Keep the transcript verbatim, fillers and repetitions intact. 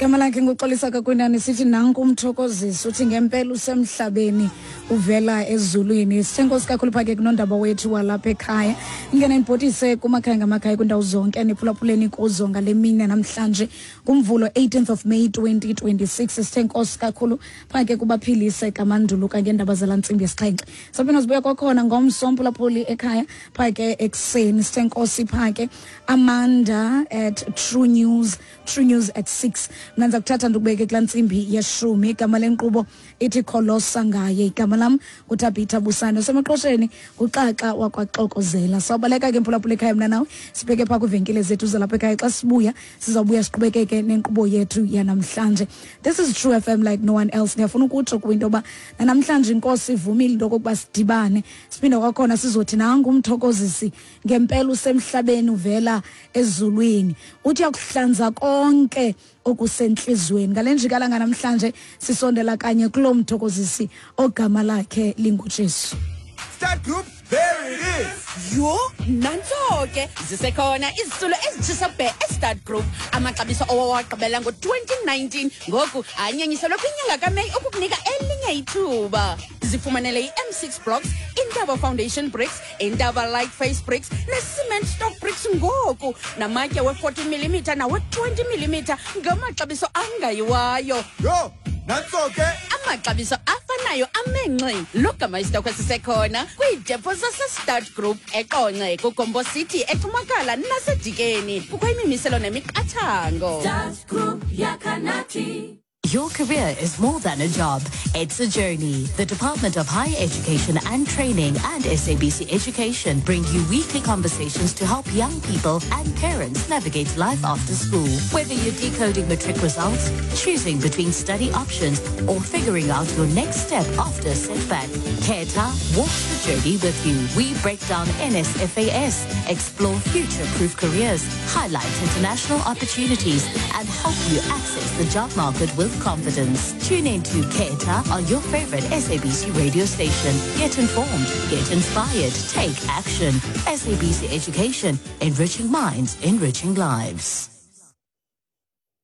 Igama lakhe nguXolisa Kakwinani. Sithi nanku umthokozisi, uthi ngempela usemhlabeni uvela ezulwini. Sithe nkosi kakhulu phake kunondaba wethu walapha ekhaya. Ingena ibhotise kumakhaya ngamakhaya kwindawo zonke niphulaphuleni kuzo ngale mini namhlanje kuMvulo eighteenth of May twenty twenty-six. Sithe nkosi kakhulu phake kubaphilise kamanduluka ngeendaba zala ntsimbi yesixhenxe. Saphinda sibuya kwakhona ngomso mphulaphuli ekhaya phake ekuseni. Sithe nkosi phake Amanda at True News, True News at six. Mna ndiza kuthatha ndikubeke kulaa ntsimbi yeshumi. Igama lenkqubo ithi Kholosa Ngaye. Igama lam nguThabitha Busane. Usemaqosheni nguXaxa wakwaXokozela. Sawubaleka ke mphulaphula ekhaya mna nawe, sibheke phaa kwiivenkile zethu zalapha ekhaya. Xa sibuya sizawubuya siqhubekeke nenkqubo yethu yanamhlanje. This is True F M like no one else. Ndiyafuna ukutsho kwinto yoba nanamhlanje inkosi ivumile into yokokuba sidibane siphinde kwakhona sizothi nangu umthokozisi ngempela usemhlabeni uvela ezulwini, uthi uyakuhlanza konke okusentliziyweni. Ngale njikalanga namhlanje sisondela kanye kuloo mthokozisi ogama lakhe linguJesu. Start Group, there it is. Yho, nantso ke zisekhona izitulo ezitshisa bhe eStart Group. Amaxabiso owawagqibela ngo-twenty nineteen ngoku anyanyiselwe kwinyanga kaMeyi ukukunika elinye ithuba. Zifumanele i-M six blocks, Intaba Foundation bricks, Intaba Light Face bricks ne-cement stock bricks ngoku, namatye we-forty millimeter nawe-twenty millimeter ngamaxabiso angayiwayo. Yho, nantso ke amaxabiso afanayo amenxe. Logama isitokhwe sisekhona kwiidepo zaseStart Group eQonce, kuGombo City, eCumakala naseDikeni. Kukho imimiselo nemiqathango. Start Group yakanathi. Your career is more than a job. It's a journey. The Department of Higher Education and Training and S A B C Education bring you weekly conversations to help young people and parents navigate life after school. Whether you're decoding matric results, choosing between study options, or figuring out your next step after a setback, Keta walks the journey with you. We break down N S F A S, explore future-proof careers, highlight international opportunities, and help you access the job market with confidence. Tune in to Keta on your favorite S A B C radio station. Get informed, get inspired, take action. S A B C Education, enriching minds, enriching lives.